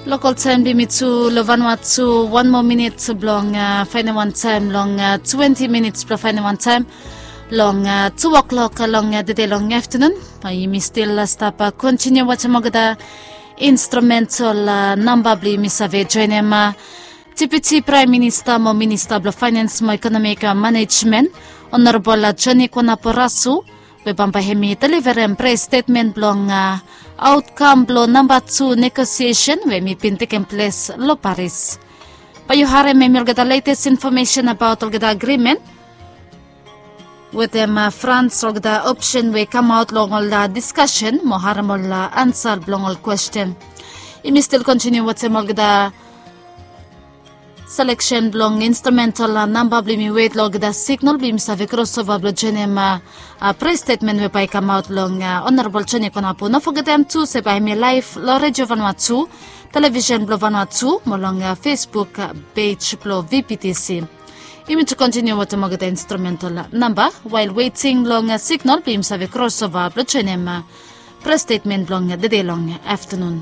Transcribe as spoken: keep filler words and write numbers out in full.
Lokal taem blong yumi tu long vanua tu wan moa minit blong faenem wan taem long twenti minits blong faenem wan taem long tu oklok long dede long aftanun. Yumi stil stap kontiniu wantem olgeta instrumental namba blong yumi save joenem. Depiti praem minista mo minista blong faenens mo ekonomik manejmen, onorabol joni kwanaporasu, we bambae hem i deliverem pres stetmen blong aotkam blong namba tu negosiesen we hem i bin tekem ples long paris. Bae yu harem hem i olgeta letes infomesen abaot olgeta agrimen wetem frans, olgeta opsen we i kamaot long ol diskasen mo harem ol ansa blong ol kwesten. Yumi stil kontiniu wantem olgeta seleksen blong instrumental namba blong yumi wet long olgeta signal blong yumi save krosova blong joenem pres stetmen we bae i kamaot long onorabol joni kwanapu. No fogetem tu se bae hem i laef long redio vanua tu, televisen blong vanua tu mo long fesbuk pej blong vptc. Yumi tu kontiniu wantem olgeta instrumental namba wael weting long signal blong yumi save krosova blong joenem pres stetmen blong dede long aftanun.